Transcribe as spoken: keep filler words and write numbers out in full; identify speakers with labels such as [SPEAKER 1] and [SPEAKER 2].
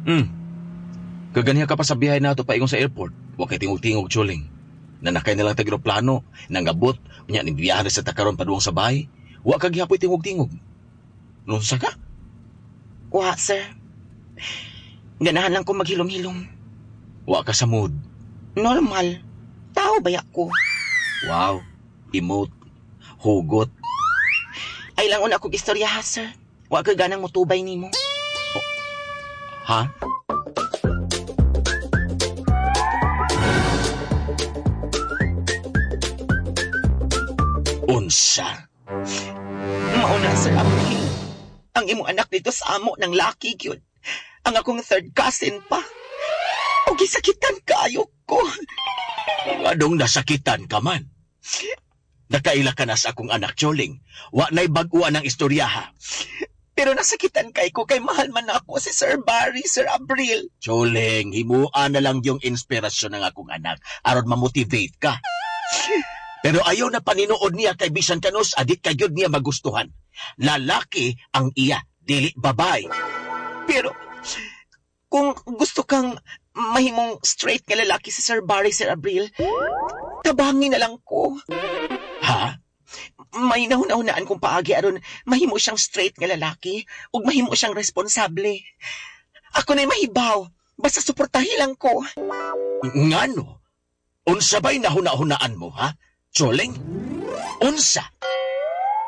[SPEAKER 1] Hmm. Kaganiha ka pa sa biyahe nato paingon sa airport. Wa kay tingog-tingog, Choling. Nanakay na lang tag eroplano, nangabot, unya ni biyahe na sa takaron paduong sa bahay. Wa ka gihapoy tingog-tingog. Nunsa ka?
[SPEAKER 2] Wa, sir. Ganahan lang ko maghilom-hilom.
[SPEAKER 1] Wa ka sa mood.
[SPEAKER 2] Normal. Tao baya ko.
[SPEAKER 1] Wow. Emote. Hugot.
[SPEAKER 2] Ay lang una kog istorya ha, sir. Wa ka ganang mutubay nimo.
[SPEAKER 1] Ha? Unsa?
[SPEAKER 2] Mauna, Sir April. Ang imong anak dito sa amo ng laki gyud. Ang akong third cousin pa. O gisakitan kaayo ko.
[SPEAKER 1] Anong nasakitan ka man? Nakaila ka na sa akong anak, Choling. Wa na'y bag-uan ang istorya, ha?
[SPEAKER 2] Pero nasakitan kay ko kay mahal man ako si Sir Barry, Sir Abril.
[SPEAKER 1] Choling, himuan na lang yung inspirasyon ng akong anak aron mamotivate ka. Pero ayaw na paninood niya kay bisan kanus, adit kayod niya magustuhan. Lalaki ang iya, dili babay.
[SPEAKER 2] Pero kung gusto kang mahimong straight nga lalaki si Sir Barry, Sir Abril, tabangin na lang ko.
[SPEAKER 1] Ha?
[SPEAKER 2] May nahuna-hunaan kong paagi aron mahimo siyang straight nga lalaki ug mahimo siyang responsable. Ako na'y mahibaw. Basta suportahi lang ko.
[SPEAKER 1] Ngano? Unsa ba'y nahuna-hunaan mo, ha? Choling? Unsa?